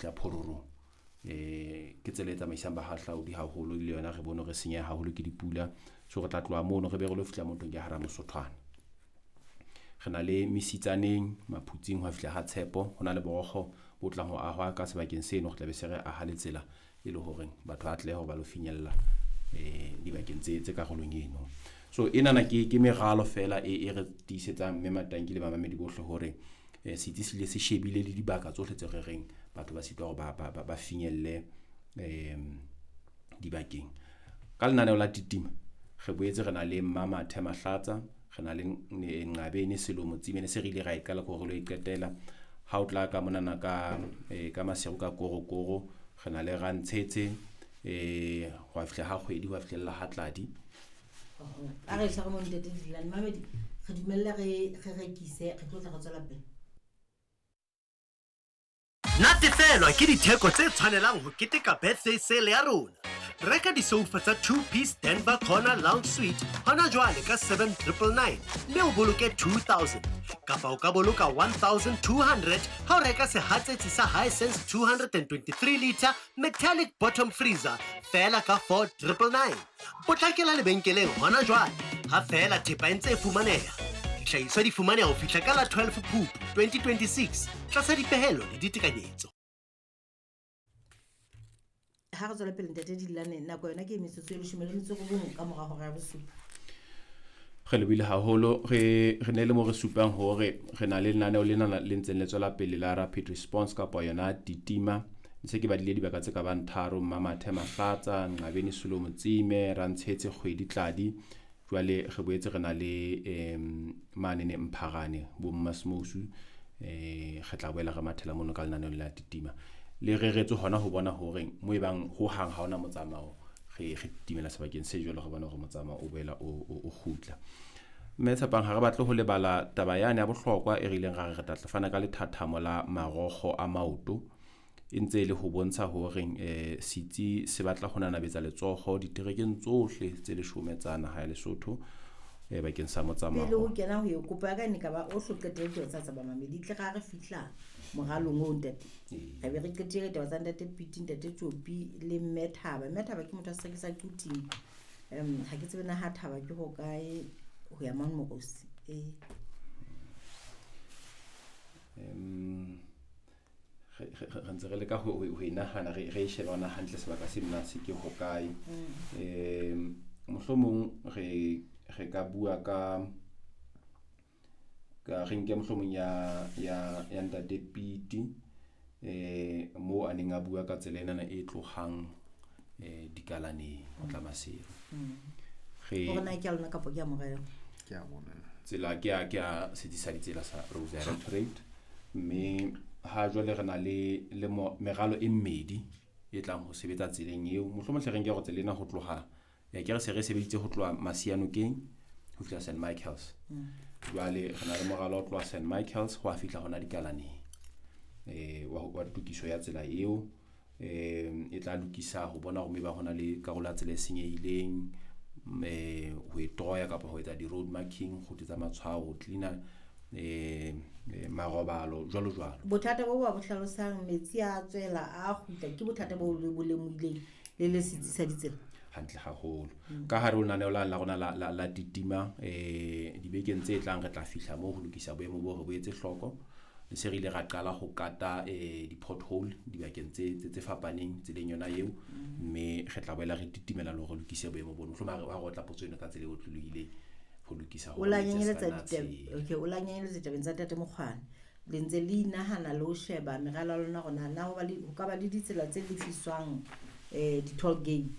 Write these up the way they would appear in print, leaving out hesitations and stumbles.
Tla Phororong. Ke tsela e tsamaisang bahahlaudi haholo le yona re bone re senyeha haholo ke dipula. So re tla tloha mono re be re lo fihla mo thweng ke hara Mosothwana. Re na le Mesitsaneng, Maphutsing ho fihla ha Tshepo. Ho na le borokgo bo tlang ho ahwa ka sebakeng seno. Re tla be se re aha le tsela e le horeng batho ba atlehe hore ba lo finyella dibakeng tse karolong eno. So enana ke meralo fela e re tiisetsang mme Matanki le bamamedi bohle hore setsi se ile se shebile le dibaka tsohle tse re reng batho ba sitwa hore ba finyelle dibakeng. Ka lenaneo la Titima re boetse re na le Mmamathe Mahlatsa, re na le Nqabene Selomo Tsimene se re ile ra e qala ko re lo e qetela. Ha o tla ka monana ka Maseru ka Korokoro, re na le Rantshetse, ho a fihla ha kgwedi, ho a fihlella ha Tladi. A re tshware mo ntate Dilane. Mamedi, re dumelle re rekise, re tlo tla re tswela pele. Natefelwa ke ditheko tse tshwanelang ho keteka birthday sale ya rona. Reka disoufa tsa 2-piece Denver Corner Lounge Suite hona jwale ka 7999 mme o boloke 2000. Kapa o ka boloka 1200 ha o reka sehatsetsi sa Hisense 223 litre metallic bottom freezer feela ka 4999. Potlakela lebenkeleng hona jwale ha feela thepa e ntse e fumaneha. Dihlahiswa di fumaneha ho fihla ka la 12 Phupu 2026 tlasa dipehelo le ditekanyetso. Ha re tswela pele ntate Dilane, nako yona ke metsotso e 19 ka mora hora ya bosupa. Re lebile haholo, re ne le mo re supang hore re na le lenaneo lena le ntseng le tswela pele la rapid response kapa yona Titima. Ntse ke badile dibaka tse ka bang tharo, Mmamathe Mahlatsa, Nqabeni Solomo Tsime, Rantshetse Kgwedi Tladi. Jwale re boetse re na le manene Mpharane bo Mmasmousu, re tla boela re mathela mono ka lenaneo la Titima. Le reretswe hona ho bona hore mo e bang ho hang ha hona motsamao, re titimela sebakeng se jwalo, re bona hore motsamao o boela o kgutla. Mme Tshepang, ha re batle ho lebala taba yane ya bohlokwa e re ileng ra re re tla fana ka lethathamo la marokgo a maoto. E ntse e le ho bontsha hore setsi se batla ho nanabetsa letsoho diterekeng tsohle tse 10 tsa naha ya Lesotho bakeng sa motsamao. Pele ho kena ho eo, kopo ya ka e ne ka ba o hlo qetelle ditaba tsa bamamedi. Tle ra re fihla moralong oo ntate. Re be re qetile ditaba tsa ntate Piti, ntate Tjopi le Mme Thaba. Mme Thaba ke motho a se rekisa Quthing. Ha ke tsebe na ha Thaba ke ho kae ho ya mang Morosi. Re ntse re leka ho e nahana, re e shebe hona hantle sebaka se nna se ke hokae. Mohlomong re ka bua ka re nke mohlomong ya ntate Piti, moo a neng a bua ka tsela enana e tlohang dikalaneng ho tla Maseru. Hore na ke a lona kapa ke a morero? Ke a bona. Tsela ke a setsi sa ditsela sa Roads Directorate, mme ha jwale re na le meralo e mmedi e tlang ho sebetsa tseleng eo. Mohlomong hle re nke hore tsela ena ho tloha, ke re se re sebeditse ho tloha Masianokeng ho fihla St Michael's. Jwale re na le moralo wa ho tloha St Michael's ho a fihla hona dikalaneng, wa tokiso ya tsela eo. E tla lokisa ho bona hore maybe hona le karolo ya tsela e senyehileng, ho e troya kapa ho etsa di-road marking, ho tsetsa matshwao, ho cleaner marobalo jwalo jwalo. Bothata bo ba bo hlalosang, metsi a tswela a kgutla, ke bothata bo le bo lemohileng le le setsi sa ditsela? Hantle haholo. Ka hare ho lenaneo la rona la Titima, dibekeng tse tlang re tla fihla moo ho lokisa boemo bo re bo etse hloko. Le se re ile ra qala ho kata di-pothole dibakeng tse fapaneng tseleng yona eo, mme re tla boela re titimela le hore re lokise boemo bono. Mohlomong ha re otla potso eno ka tsela e otlolohileng ho lokisa O la hore metsi a nyenyeletsa se ka nna ditaba, tshela. okay, o la nyenyeletsa ditabeng tsa Ntate Mokgwane. Le ntse le inahana le ho sheba meralo ya lona hore na ho ba le, ho ka ba le ditsela tse lefiswang, di-toll gate.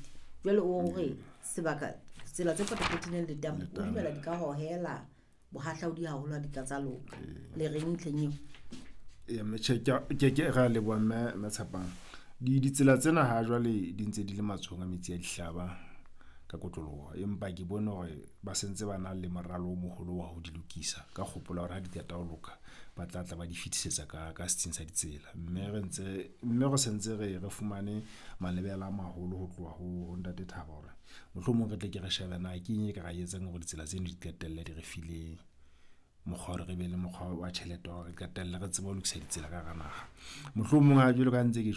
Jwale o hore sebaka, tsela tse potapotileng letamo, o Letamo. dumela di ka hohela bohahlaudi haholo ha di ka tsa loka. Le reng ntlheng eo? Mme tjhe, ke re a leboha mme Tshepang. Ditsela tsena ha jwale di ntse di le matsohong a metsi a dihlaba ka kotloloho, empa ke bone hore ba sentse ba na le moralo o moholo wa ho di lokisa ka kgopolo ya hore ha di qeta ho loka ba tla tla ba di fetisetsa ka setsing sa ditsela. Mme re sentse re fumane malebela a maholo ho tloha ho Ntate Thaba hore mohlomong re tle ke re shebe na ke eng e ka ra etsang hore ditsela tseno di qetelle di re file mokgwa hore re be le mokgwa wa tjhelete wa hore re qetelle re tsebe ho lokisa ditsela ka hara naha. Mohlomong ha jwalo ka ntse ke